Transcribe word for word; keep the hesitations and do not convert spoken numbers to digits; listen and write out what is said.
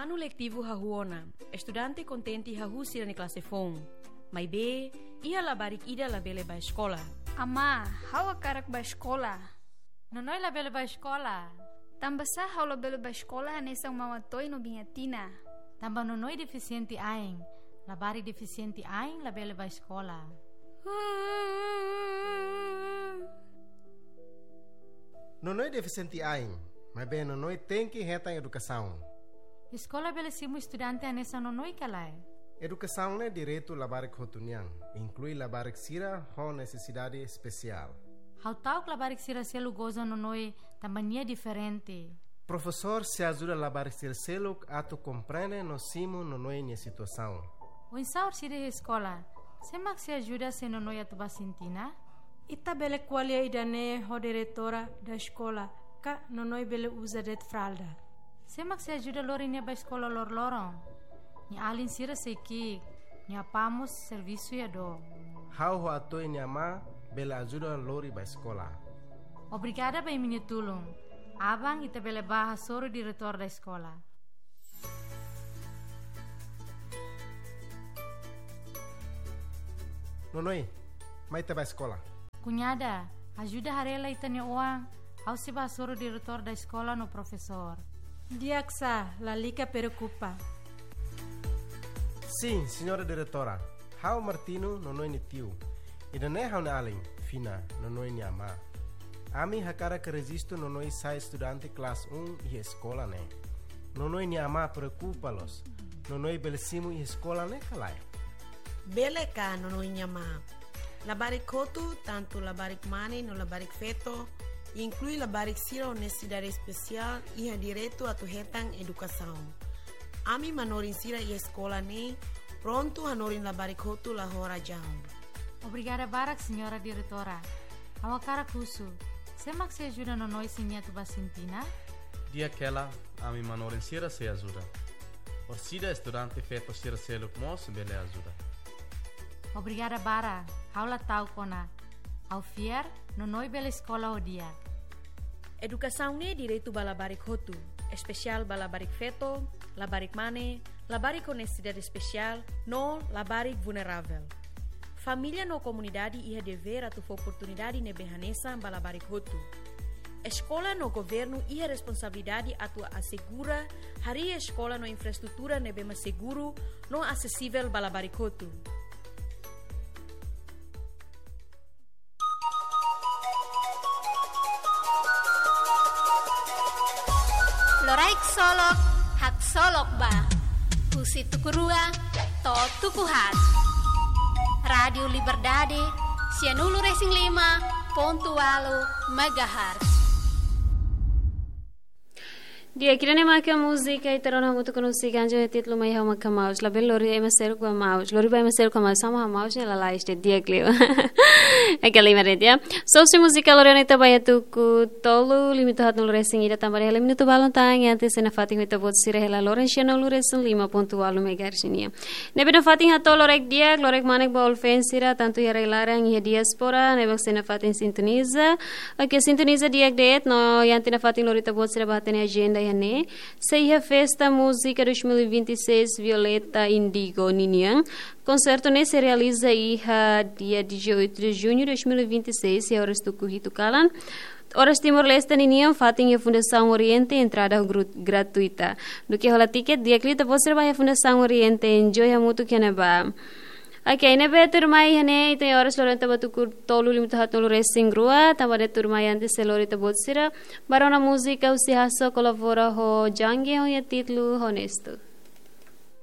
Anu letivu hahú ona, estudante kontente hahú sira-nia klase foun. Maibé, iha labarik ida labele bá eskola. Amá, ha'u hakarak bá eskola. Nonoi labele bá eskola. Tanbasá ha'u labele bá eskola hanesan Maun Atoy no Biin Atina? Tanba Nonoi defisiente ain. Labarik defisiente ain labele bá eskola. Nonoi defisiente ain, maibé Nonoi tenke hetan edukasaun. Eskola bele simu estudante hanesan Nonoi ka lae? Edukasaun ne'e direitu labarik hotu nian, inklui labarik sira ho nesesidade espesiál. Ha'u ta'uk labarik sira seluk goza Nonoi tanba nia diferente. Profesór sei ajuda labarik sira seluk atu komprende no simu Nonoi nia situasaun. Oinsá orsida iha eskola? Sé mak sei ajuda se Nonoi atu bá sintina? Ita bele ko'alia ida-ne'e ho diretora da eskola, ka Nonoi bele uza de'it fralda. Sé mak sei ajuda lori nia bá eskola loroloron? Nia alin sira sei ki'ik, nia apá mós servisu iha dook. Ha'u ho Atoy nia amá bele ajuda lori bá eskola. Obrigada ba imi-nia tulun. Aban ita bele bá hasoru diretór da eskola. Nonoi, mai ita bá eskola. Kuñada, ajuda haree lai ita-nia oan, ha'u sei bá hasoru diretór da eskola no profesór. Di'ak sá, lalika preokupa. Sin, señora diretora. Ha'u Martino, Nonoi nia tiu. Ida-ne'e ha'u-nia alin, Fina, Nonoi nia amá. Ami hakarak rejistu Nonoi sai estudante klase un iha eskola ne'e. Nonoi nia amá preokupa loos. Nonoi bele simu iha eskola ne'e ka lae? Bele ka, Nonoi nia amá. Labarik hotu, tantu labarik mane no labarik feto, inklui labarik sira ho nesesidade espesiál, iha direitu atu hetan edukasaun. Ami manorin sira iha eskola ne'e prontu hanorin labarik hotu la ho razaun. Obrigada barak, señora diretora. Ha'u hakarak husu, sé mak sei ajuda Nonoi se nia atu bá sintina? Di'ak hela, ami manorin sira sei ajuda. Orsida estudante feto sira seluk mós bele ajuda. Obrigada barak, ha'u la ta'uk ona. Ha'u fiar, Nonoi bele eskola ho di'ak. Edukasaun ne'e direitu ba labarik hotu, espesiál ba labarik feto, labarik mane, labarik ho nesesidade espesiál, no labarik vulneravel. Família no komunidade iha devér atu fó oportunidade ne'ebé hanesan ba labarik hotu. Eskola no governu iha responsabilidade atu asegura harii eskola no infraestrutura ne'ebé mak seguru no asesivel ba labarik hotu. Loraik solok, haksolok ba. Husi tuku rua to'o tuku haat. Rádiu Liberdade, sianulu resin lima pontu ualu megahertz. Di'ak, ida-ne'e maka múzika ita rona hamutuk ho múzika anjo iha títulu Mai Ha'u Maka Maus. Labele lori ema seluk ba maus. Lori ba ema seluk ba maus, sama ho maus ne'e lalais de'it, di'ak liu. Oke, lima de'it ya. So, husi múzika lori ona ita bá iha tuku tolu, lima to'o haatnulu resin ida tanba hela minutu balun tan, antes nafatin ho ita-boot sira hela loron sianulu resin lima pontu ualu megahertz nian. Ne'ebé nafatin hato'o loraik di'ak, loraik manek ba ol feen sira, tantu iha rai-laran, iha diáspora, ne'ebé sei nafatin sintoniza. Oke, sintoniza di'ak de'it, no iha ita nafatin lori ita-boot sira bá hatene ajenda iha ne'e. Sei iha festa múzika dois mil e vinte e seis Violeta Indigo ninian. Konsertu ne'e sei realiza iha dia dezoito de junho de dois mil e vinte e seis, iha oras tuku hitu kalan. Oras Timor-Leste ninian, fatin iha Fundasaun Oriente, entrada gru-, gratuita. Duké hola tiket, di'ak liu ita-boot sira bá iha Fundasaun Oriente, enjoy hamutuk iha ne'ebá. Oke, ne'ebé tuirmai iha ne'e, ita iha oras loron ita bá tuku tolu, lima to'o haatnulu resin rua, tanba de'it tuirmai antes sei lori ita-boot sira bá rona múzika husi Hasso kolabora ho Jange ho nia títulu Honesto.